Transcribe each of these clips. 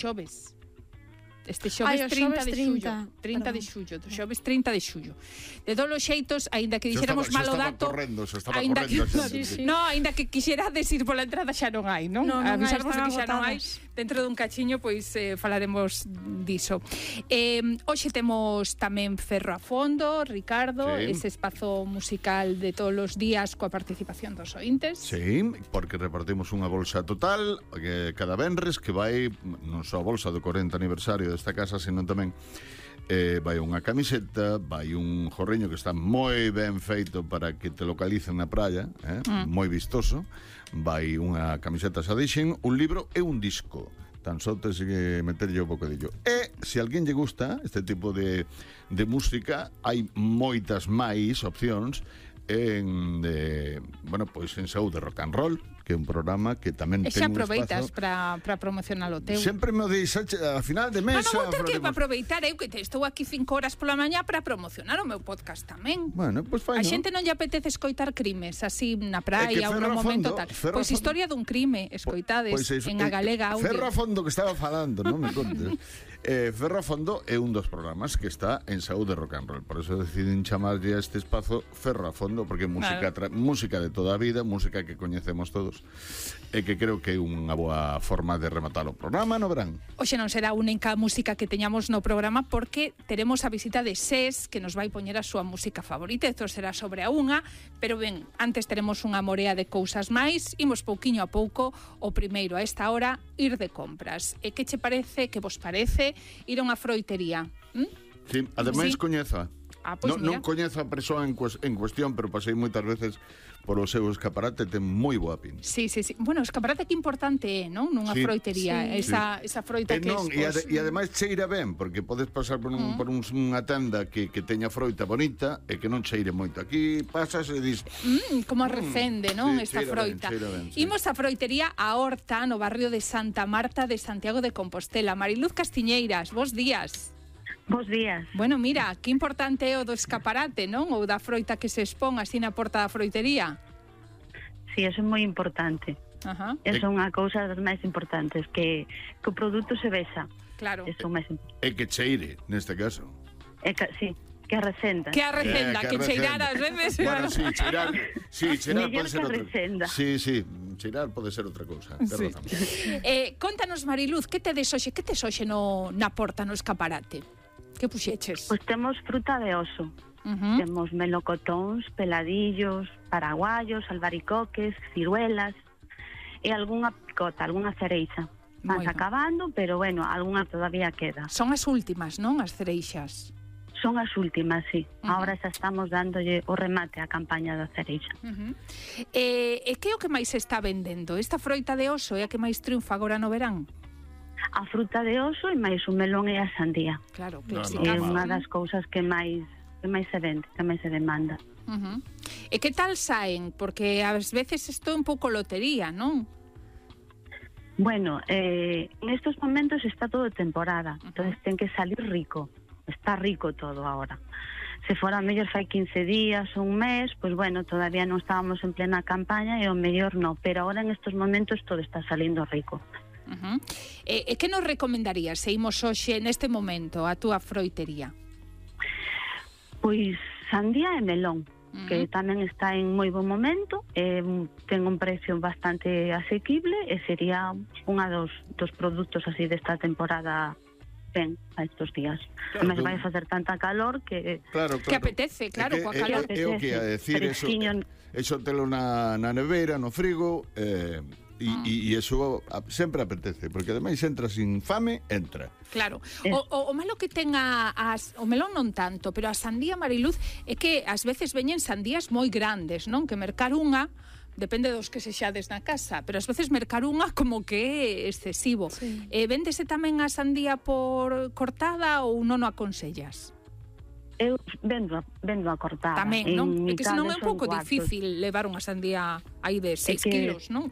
xoves. Este xoves 30 de xullo. 30 de xullo, do xoves 30 de xullo. De todos os xeitos, aínda que dixéramos malo dato, aínda que quixerades ir pola entrada xa non hai, non? Avisarvos que xa non hai. Dentro dun cachiño, pois falaremos diso. Hoxe temos tamén Ferro a Fondo, Ricardo, ese espazo musical de todos os días coa participación dos ointes. Sí, porque repartimos unha bolsa total cada venres que vai non só a bolsa do 40 aniversario desta casa, senón tamén vai unha camiseta, vai un jorriño que está moi ben feito para que te localicen na praia, moi vistoso, vai unha camiseta Sadixen, un libro e un disco. Tan só te sigue meterlle un bocadillo. E se alguén lle gusta este tipo de música, hai moitas máis opcións en Saúde Rock and Roll, que é un programa que tamén ten un espazo. E xa aproveitas para promocionar o teu. Sempre me o deixas a final de mes. Non vou ter que aproveitar, eu que estou aquí 5 horas pola mañá para promocionar o meu podcast tamén. Bueno, pois fai, a xente non lle apetece escoitar crimes así na praia ou no momento tal. Pois historia dun crime, escoitades en a Galega Audio. Ferro a Fondo que estaba falando, non me contes. Ferro a Fondo é un dos programas que está en Saúde Rock and Roll, por eso deciden chamarlle a este espazo Ferro a Fondo, porque é música de toda a vida, música que coñecemos todos, e que creo que é unha boa forma de rematar o programa no verán. Hoxe non será a única música que teñamos no programa, porque teremos a visita de SES, que nos vai poñer a súa música favorita. Isto será sobre a unha, pero ben, antes teremos unha morea de cousas máis. Imos pouquiño a pouco. O primeiro a esta hora, ir de compras. E que che parece, que vos parece ir a unha froitería? Sí, ademais coñeza. Pois non coñezo a persoa en cuestión, pero pasei moitas veces polo seu escaparate, ten moi boa pinta. Sí. Bueno, o escaparate que importante é, non? Nunha froitería, esa froita que e ademais cheira ben, porque podes pasar por unha tenda que teña froita bonita e que non cheire moito. Aquí pasas e dis... como recende, non? Esta froita. Imos a froitería A Horta, no barrio de Santa Marta de Santiago de Compostela. Mariluz Castiñeiras, bos días. Bos días. Bueno, mira, que importante é o do escaparate, non? Ou da froita que se expón así na porta da froitería. Sí, eso é moi importante. Eso é unha cousa das máis importantes, que o produto se vexa. Claro. Eso é máis importante. E que cheire, neste caso. Sí, que a recenda. Que a recenda, que cheirar ás veces. Bueno, cheirar pode ser outra. Sí, cheirar pode ser outra cousa. Contanos, Mariluz, que tes hoxe na porta, no escaparate? Que puxeches? Pois temos fruta de oso. Temos melocotóns, peladillos, paraguayos, albaricoques, ciruelas e algunha picota, algunha cereixa. Vas acabando, pero bueno, algunha todavía queda. Son as últimas, non? As cereixas. Son as últimas, sí. Ahora xa estamos dándolle o remate á campaña da cereixa. E que é o que máis se está vendendo? Esta froita de oso é a que máis triunfa agora no verán? A fruta de oso e máis o melón e a sandía. Claro, clásica. É unha das cousas que máis se vende, que máis se demanda. E que tal saen? Porque ás veces isto é un pouco lotería, non? Bueno, en estos momentos está todo temporada, entonces ten que salir rico. Está rico todo ahora. Se fora mellor fai 15 días ou un mes, pois bueno, todavía non estábamos en plena campaña e o mellor non, pero ahora en estos momentos todo está salindo rico. E que nos recomendarías se imos hoxe neste momento a túa froitería? Pois sandía e melón, que tamén está en moi bon momento, ten un precio bastante asequible e sería unha dos produtos así desta temporada ben a estos días. Claro, mas vai facer tanta calor que... Claro. Que apetece, claro, coa calor. É o que a decir, eso telo na nevera, no frigo, e eso sempre apetece, porque ademais entra sin fame, entra. Claro. O malo que ten o melón non tanto, pero a sandía, Mariluz, é que ás veces veñen sandías moi grandes, non? Que mercar unha depende dos que sexades na casa, pero ás veces mercar unha como que é excesivo. Véndese tamén a sandía por cortada ou non o aconsellas? Eu vendo a cortada. Tamén, non? É que senón é un pouco difícil levar unha sandía aí de 6 kilos, non?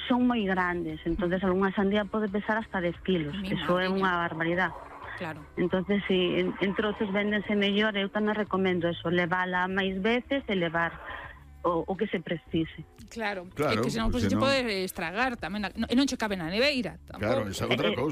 Son moi grandes, entonces algunha sandía pode pesar hasta 10 kilos. Eso é unha barbaridade. Claro. Entonces, si en trozos véndense mellor, eu tamén recomendo eso, levala máis veces e levar o que se precise. Claro, é que senón se pode estragar tamén, e non che cabe na neveira tampouco. Claro, esa é outra cousa.